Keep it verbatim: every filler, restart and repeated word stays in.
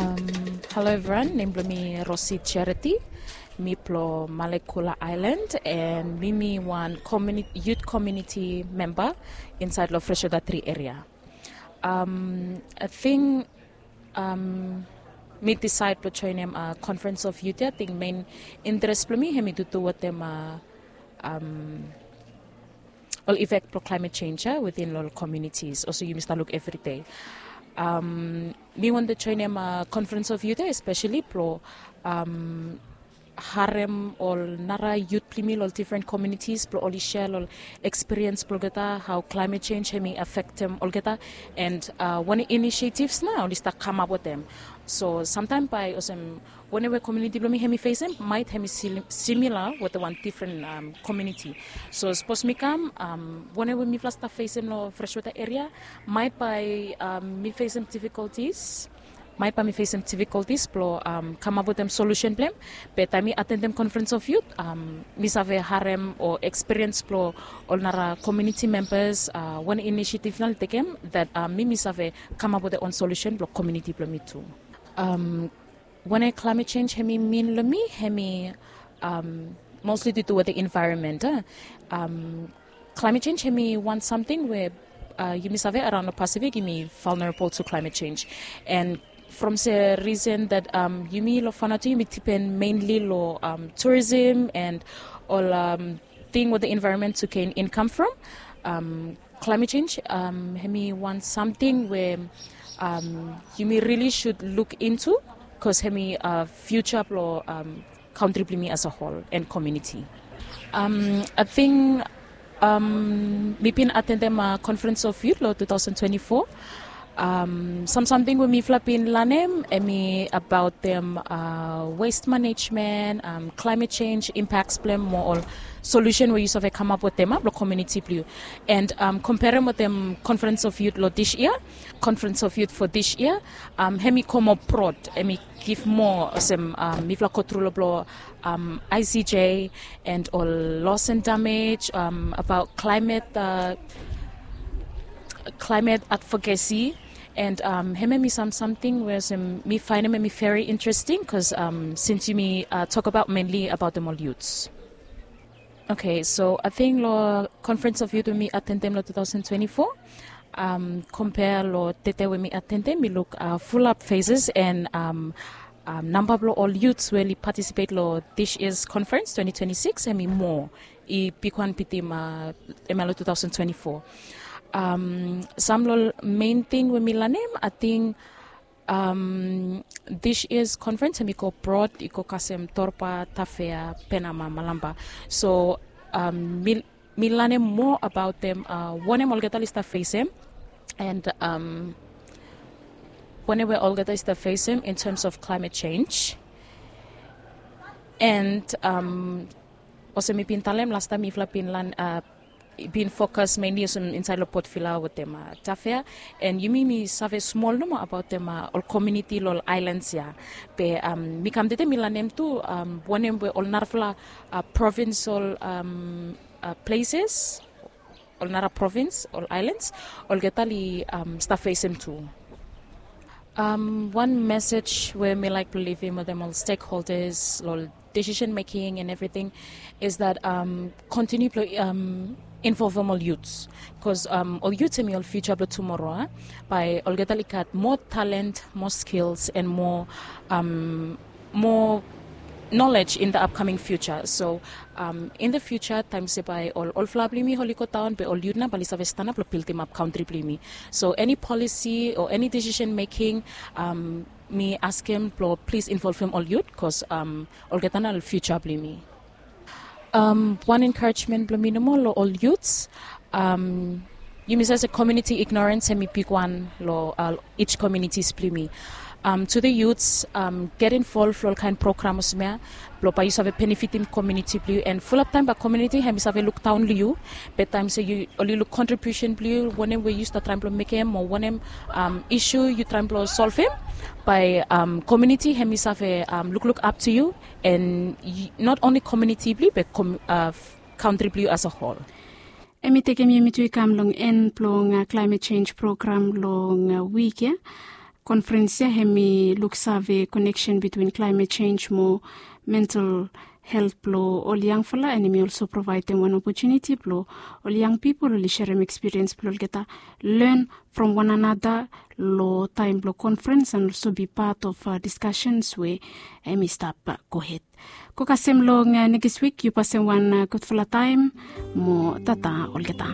Hello everyone, nem blong mi Rosi Charity. Mi blong Malekula Island, and mi mi wan community, youth community member inside long Freshwater Three area. Um, I think um, mi decide blong joinim uh, Conference of Youth. I think main interest blong mi hemi tutu wetem uh, um, ol effect blong climate change uh, within ol communities. Also, yumi stap luk every day. Um, mi wantem joinim uh, Conference of Youth, especially blong um, harem ol nara youth blong mi long different communities blong oli share ol experience blong olgeta, how climate change hemi affectem olgeta, and uh, wanem initiatives nao oli stap kamap wetem. So samtaem bae olsem wanem we community blong mi hemi facem, maet hemi similar wetem wan different um, community. So sapos mi kam, um, wanem we mifala stap facem long Freshwater area, maet bae um, mi facem difficulties, maet bae mi facem difficulties blong um, kamap wetem solution blong hem. Be taem mi attendem Conference of Youth, um, mi save harem o experience blong ol nara community members, uh, wanem initiative nao oli tekem, that um, mi mi save kamap wetem own solution blong community blong mi tu. Um, wanem climate change hemi mean long mi, hemi um, mostly due to wetem environment. Uh. Um, climate change hemi wan samting we uh, yumi save araon long Pacific yumi vulnerable to climate change. And from se reason that um, yumi long Vanuatu yumi depend mainly long um, tourism and ol um, thing wetem environment to gain income from. Um, climate change um, hemi wan samting we um, yumi really should look into, cause hemi uh, future blong um, country blong mi as a whole and community. Um, I think um, mi bin attendem uh, Conference of Youth long two thousand twenty-four. Um, sam samting we mifala bin lanem hemi abaot dem uh, waste management, um, climate change impacts blong hem, mo ol solution we yu save kamap wetem uh, blong community blong yu. And um, komperem wetem Conference of Youth long this year, Conference of Youth for this year, um, hemi go moa broad, hemi give moa olsem um, mifala go tru long blong um, I C J and ol loss and damage, um, abaot climate, uh, climate advocacy. And um, hemia hemi sam samting we olsem mi faenem hemi very interesting, cause um, since yumi uh, tok abaot mainly abaot dem ol youths. Okay, so I think long Conference of Youth we mi attendem long two thousand twenty-four, um, compare long tede we mi attendem, mi luk uh, fulap faces and um, um, namba blong ol youths we oli participate long this year's conference twenty twenty-six hemi moa, i bigwan bitim uh, hemia long two thousand twenty-four. Um, sam long main thing we mi lanem, I think um, this year's conference hemi go broad, i go kasem Torba, Tafea, Penama, Malampa. So um, mi, mi lanem moa abaot dem uh, wanem olgeta oli stap facem, and um, wanem we olgeta oli stap facem in terms of climate change. And um, olsem mi bin talem, lastaem mifala bin lan uh, bin focus mainly olsem inside long Port Vila wetem uh, Tafea. And yumi mi save smol nomo abaot dem uh, ol community long ol islands ia. Be um, mi kam tede mi lanem tu um, wanem we ol narafala uh, provincial um, uh, places, ol nara province, ol islands, olgeta oli um, stap facem tu. Um, wan message we mi laik blong livim wetem ol stakeholders long decision making and everything is that um, continue blong um, involvem ol youths, cause um, ol youths hemi ol future blong tomorrow. Uh? Bae olgeta oli gat moa talent, moa skills and moa um, moa knowledge in the upcoming future. So um, in the future, taem se bae ol olfala blong yumi oli go daon, be ol youth nao bae oli save stanap blong bildimap country blong yumi. So any policy or any decision making, um, mi askem blong please involvem ol youth, cause um, olgeta nao ol future blong yumi. Um, wan encouragement blong mi nomo long ol youths, um, yumi save se community ignorance hemi bigwan long uh, each communities blong yumi. Um, to the youths, um, get involved long ol kaen program olsem ia blong bae yu save benefitim community blong yu. And fulap taem bae community hemi save luk daon long yu, be taem se yu oli luk contribution blong yu, wanem we yu stap traem blong mekem o wanem um, issue yu traem blong solvem, bae um, community hemi save um, lukluk up to you. And not only community blong yu be uh, country blong yu as a whole. Hemi tekem yumi tu i kam long en blong uh, climate change program long uh, wik ia. Konferens ya hem i luksave koneksen bitwin klaemet sens mo mental helt blong ol yangfala, and hem i olso provaedem wan opotuniti blong ol yang pipol oli serem ekspiriens blong olgeta, len from wan anada long taem blong konferens and olso bi pat of diskasens we hem i stap gohed. Go kasem long nekis wik, yu pasem wan gudfala taem mo tata olgeta.